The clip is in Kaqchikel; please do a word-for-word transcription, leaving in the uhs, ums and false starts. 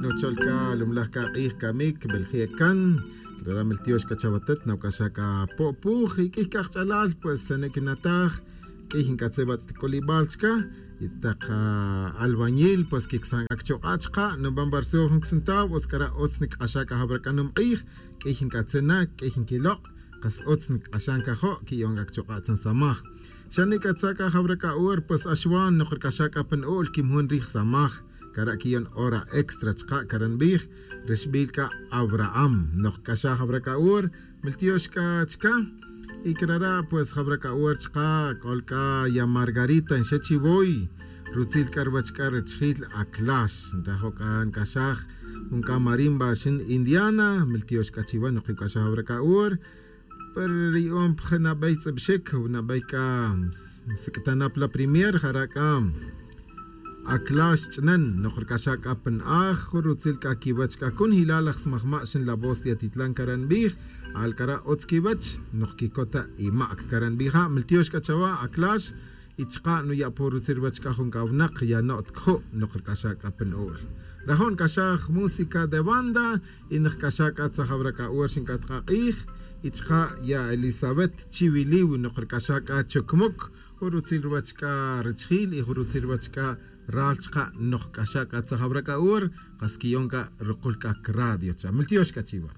Nocholka lumlaj q'ij kamik beljiekan Raram el tío xkachawatet nawkaxaka po'puj y k'ij kajch'alal pues senequinataj k'ij ink'atzebatz tikolib'alchka y taq albañil pues kiksan akchoq'achqa nub'an barsuj jun centav oskara utz nik'axaka jab'rakanum q'ij k'ij ink'atzena k'ij inkiloq' qas utz nik'axan kajo' ki'yon akchoq'a tzan samaj xanik atzaka jab'raka ur pues axwan noqrk'axaka pan u'l kimjun rij samaj kara kiyon hora extra chqa karanb'ij rixb'ilka Abraham noqk'axaj jab'raka ur miltioxka chka y krara pues jab'raka ur chqa k'olka ya Margarita nxechivoy rutzil k'arwachk'a richjil aklax nrajo'ka nk'axaj junka marimba xin Indiana miltioxka chiwa noqik'axaj jab'raka ur per ri'om pj nab'ey tz'ib'xik nab'ey k'a sik'tanap la premier jaraka aklax ch'nen noqrk'axaj k'a pan aj rutzil k'a kiwach k'a kun hilal aj smajma' xin la voz de Atitlán karanb'ij alkara utz kiwach noqkikota imak karanb'ija miltiox k'a chawa aklax y chqa nuya' por rutzil wach k'a jun k'awnaq ya no't kju' noqrk'axaj k'a pan u'l rajon k'axaj música de banda y nqk'axaj k'a tzajab'raka ur xink'atq'aq'ij y chqa ya Elizabeth Chiwiliw noqrk'axaj k'a chukmuk jurutzil wach k'a richjil y jurutzil wach k'a ral chqa noqk'axaj k'a tzajab'raka ur qas kiyonka ruqul k'a radio cha miltiox k'a chiwa.